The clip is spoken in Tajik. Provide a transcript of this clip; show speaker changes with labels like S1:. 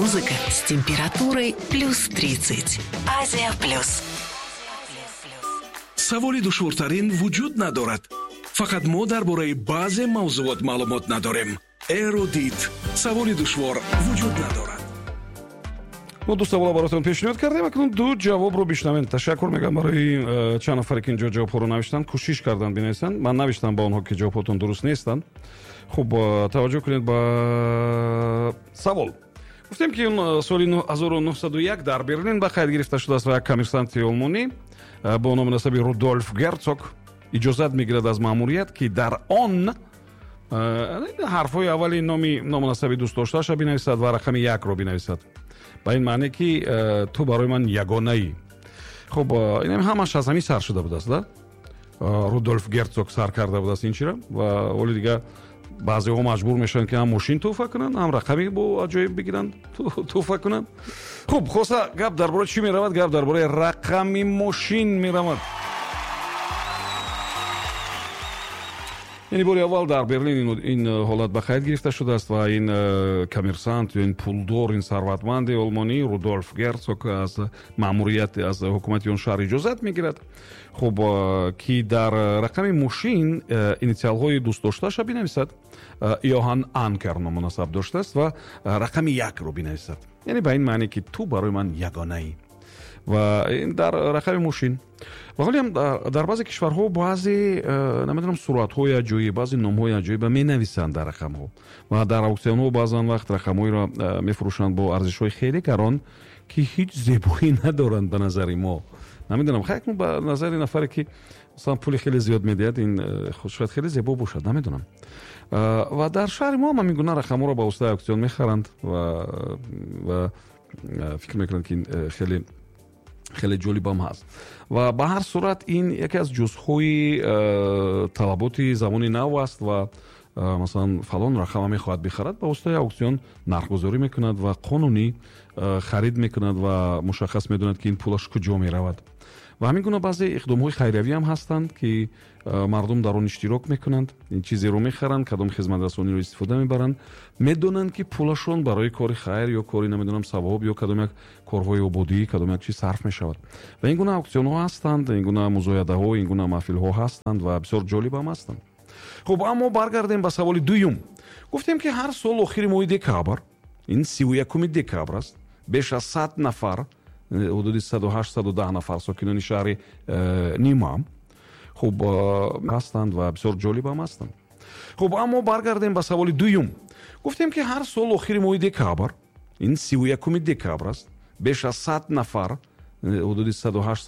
S1: Музыка с температурой плюс 30. Азия плюс.
S2: Саволи душвортарин вуҷуд надорад. Фақат мо дар бораи баъзе мавзуот маълумот надорем. Эрудит. Саволи душвор вуҷуд надорад.
S3: Мо ду савола баротон пешниҳод кардем, акнун ду ҷавобро бишнавем. Ташаккур мегӯям барои чанд нафаре, ки инҷо ҷавобҳоро навиштанд, кӯшиш карданд бинависанд. Ман навиштам ба онҳо, ки ҷавобҳотон дуруст нестанд. Хуб, таваҷҷӯҳ кунед ба савол. Гуфтем, ки соли 1901 дар Берлин ба қайд гирифта шудааст ва як коммерсанти олмонӣ бо номи насаби Рудольф Герцог иҷозат мегирад аз маъмурият, ки дар он ҳарфҳои аввали номи ному насаби дӯстдоштаашро бинависад ва рақами якро бинависад, ба ин маъне, ки ту барои ман ягонаӣ. Хуб, инам ҳамаш аз ҳамин сар шуда будааст, да? Рудольф Герцог сар карда будааст ин чира, ва оли дига баъзеҳо маҷбур мешаванд, ки ҳам мошин тӯҳфа кунанд, ҳам рақами бо аҷоиб бигиранд, тӯҳфа кунанд. Хуб, хулоса, гап дар бораи чӣ меравад? Гап дар бораи рақами мошин меравад. Яъне бори аввал дар Берлин ин ҳолат ба қайд гирифта шудааст ва ин коммерсант ё ин пулдор, ин сарватманди олмонӣ Рудольф Герцог аз маъмурият, аз ҳукумати он шаҳр иҷозат мегирад, хуб, ки дар рақами мошин инициалҳои дӯстдоштаашро бинависад. Йоҳан Анкер ному насаб доштааст, ва рақами якро бинависад, яъне ба ин маъне, ки ту барои ман ягонаӣ. Ва ин дар рақами мошин. Ва ҳолиам дар баъзе кишварҳо баъзе, намедонам, суратҳои аҷоиб, баъзе номҳои аҷоиба менависанд дар рақамҳо ва дар ауксионҳо баъзан вақт рақамҳоеро мефурӯшанд бо арзишҳои хеле гарон, ки ҳеҷ зебоӣ надоранд ба назари мо. Намедонам, хайр, ба назари нафаре, ки масалан пули хеле зиёд медиҳад, ин шояд хеле зебо бошад, намедонам. Ва дар шаҳри мо ҳам ҳамин гуна рақамҳоро ба воситаи ауксион мехаранд ва фикр мекунанд, ки ин хеле хеле ҷолибам ҳаст. Ва ба ҳар сурат ин яке аз ҷузъҳои талаботи замони нав аст ва масалан фалон рақама мехоҳад бихарад, ба воситаи ауксион нархгузорӣ мекунад ва қонунӣ харид мекунад ва мушаххас медонад, ки ин пулаш куҷо меравад. Ва ҳамин гуна баъзе иқдомҳои хайриявӣ ҳам ҳастанд, ки мардум дар он иштирок мекунанд, ин чизеро мехаранд, кадом хизматрасониро истифода мебаранд, медонанд, ки пулашон барои кори хайр ё кори, намедонам, савоб ё кадом як корҳои ободӣ, кадом як чиз сарф мешавад. Ва ин гуна ауксионҳо ҳастанд, ин гуна музоядаҳо, ин гуна маҳфилҳо ҳастанд ва бисёр ҷолиб ҳам ҳастанд. Хуб, аммо баргардем ба саволи дуюм. Гуфтем, ки ҳар сол охири моҳи декабр, ин 31 декабр аст, беш аз 100 нафар, ҳудуди 108-110 нафар сокинони шаҳри Нима, хуб, ҳастанд ва бисёр ҷолиб ҳам ҳастанд. Хуб, аммо баргардем ба саволи дуюм. Гуфтем, ки ҳар сол охири моҳи декабр, ин 31 декабр аст, беш аз 100 нафар, ҳудуди 108